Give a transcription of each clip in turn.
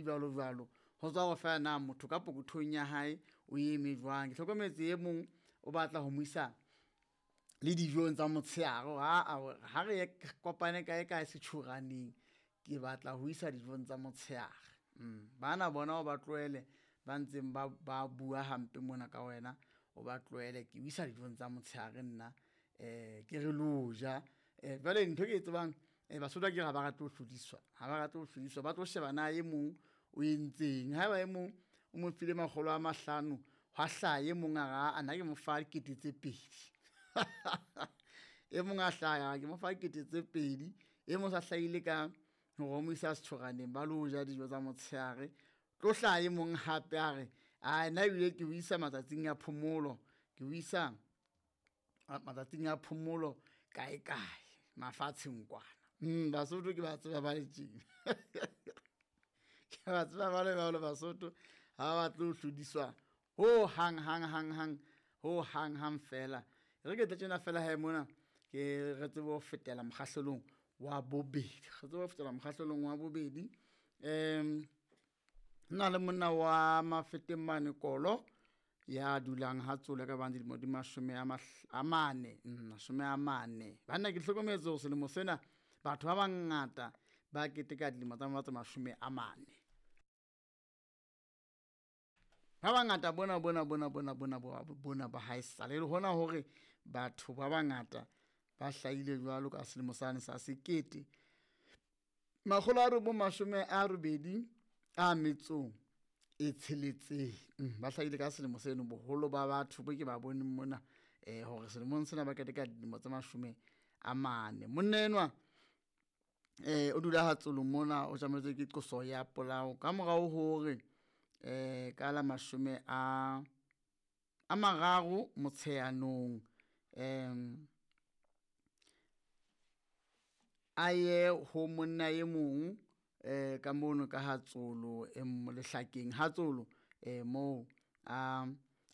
jwalo jwalo. Ho tswa hore fela na motho ka pokothong ya hae o eme jwang. Ke hlokometse e mong o batla ho mo isa le dijong tsa motshehare hore aa ha re ye kopane kae kae setjhoraneng, ke batla ho isa dijong tsa motshehare. Bana bona o ba tlohele ba ntseng ba ba bua hampe mona ka wena, o ba tlohele ke o isa dijong tsa motshehare nna ke re lo ja. Jwale ntho e ke e tsebang Basotho akere ha ba rate ho hlodiswa, ha ba rate ho hlodiswa, ba tlo sheba na e mong o entseng. Haeba e mong o mo file 500, hwa hlaha e mong a re aa nna ke mo fa 2000. E mong a hlaha a re ke mo fa 2000, e mong o sa hlahile ka hore o mo isa setjhoraneng ba lo ja dijo tsa motshehare. Tlo hlaha e mong hape a re ae nna ebile ke o isa matsatsing a phomolo, ke o isa matsatsing a phomolo kae kae mafatsheng kwana. Basotho ke ba tseba ba le tjena. Ke ba tseba ba le jwalo Basotho ha ba batle ho hlodiswa ho hang hang hang hang ho hang hang fela. E re ke tle tjena fela he mona ke re tsebe ho fetela mokgahlelong wa bobedi, re tsebe ho fetela mokgahlelong wa bobedi. Nna le monna wa Mafeteng mane Kolo ya dulang ha Tsolo ka bang dilemo di 40, 40. Banna ke hlokometse hore selemo sena batho ba bangata ba keteka dilemo tsa bona tse 40. Ba bangata bona bona bona bona bona bona ba haesale le hona hore batho ba bangata ba hlahile jwalo ka selemo sane sa 1986. Ba hlahile ka selemo seno boholo ba batho bo ke ba boneng mona hore selemong sena ba keteka dilemo tse 40. Monna enwa o dula ha Tsolo mona, o tjametswe ke qoso ya polao ka morao hore ka la 30 Motsheanong a ye ho monna e mong ka mono ka ha Tsolo lehlakeng ha Tsolo moo a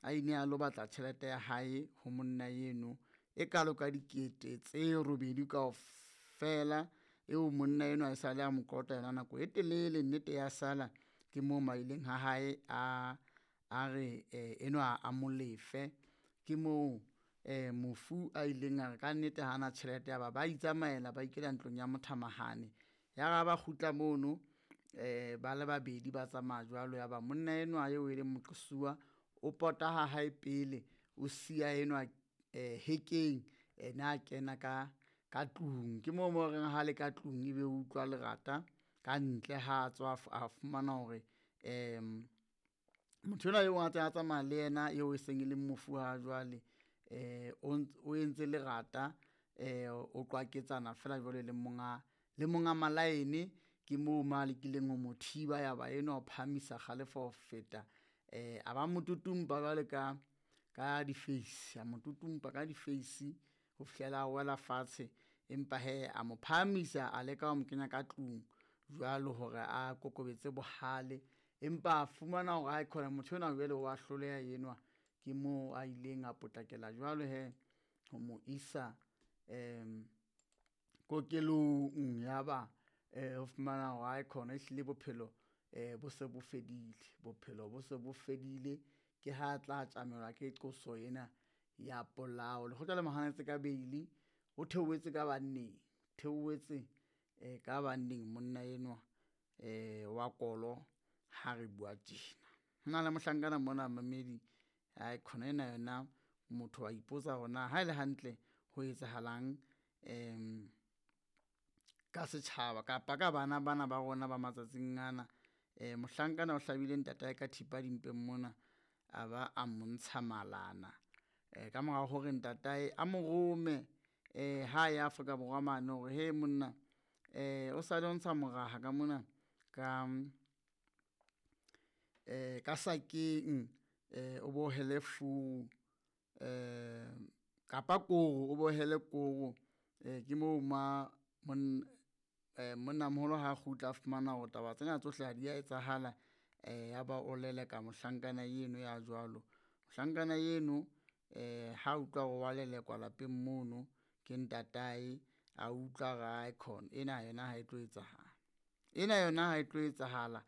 a ile a lo batla tjhelete ya hae ho monna eno e kalo ka 8 000 kaofela, eo monna enwa e sale a mo kolota yona nako e telele. Nnete ya sala ke moo maileng ha hae a a re enwa a mo lefe. Ke moo mofu a ileng a re ka nnete hana tjhelete ya ba ba itsamaela ba ikela ntlong ya mothamahane. Ya ra ba kgutla mono ba le babedi ba tsamaya jwalo ya ba monna enwa eo e leng moqosuwa o pota ha hae pele, o siya enwa hekeng ena a kena ka ka tlung. Ke moo mo reng ha le ka tlung ebe o utlwa lerata ka ntle ha tswa a fumana hore motho enwa eo a ntse a tsamaya le yena eo e seng e le mofu ha jwale o entse lerata o qwaketsana fela jwalo le monga le monga malaene. Ke moo ma lekileng ho mo thiba ya ba enwa o phahamisa kgalefo ho feta a ba mo tutumpa jwale ka ka difeisi, a mo tutumpa ka difeisi ho fihlela a wela fatshe. Empa hee a mo phahamisa a leka ho mo kenya ka tlung jwalo hore a kokobetse bohale, empa a fumana hore ae motho enwa jwale wa hloleha enwa. Ke moo a ileng a potlakela jwalo he ho mo isa kokelong ya ba o fumana hore ae khona ehlile bophelo bo se bo fedile, bophelo bo se bo fedile. Ke ha tla tjamelwa ke qoso ena ya polao. Lekgotla le mo hanetse ka beili, o theohetse ka banneng, theohetse ka banneng monna enwa wa Kolo ha re bua tjena. Ho na le mohlankana mona mamedi ae khona ena yona motho wa ipotsa hore na ha ele hantle ho etsahalang ka setjhaba kapa ka bana bana ba rona ba matsatsing ana. Mohlankana o hlabile ntatae ka thipa dimpeng mona, a ba a mo ntsha malana ka mora hore ntatae a mo rome ha ya Afrika Borwa mane hore he monna o sale o ntsha moraha ka mona ka ka sakeng o bo hele furu kapa koro o bo hele koro. Ke moo ma monnamoholo ha kgutla a fumana hore taba tsena tsohle ha di a etsahala ya ba o leleka mohlankana eno ya jwalo. Mohlankana eno ha utlwa hore wa lelekwa lapeng mono ke ntatae, a utlwa re aekhona ena yona ha e tlo etsahala, ena yona ha e tlo etsahala.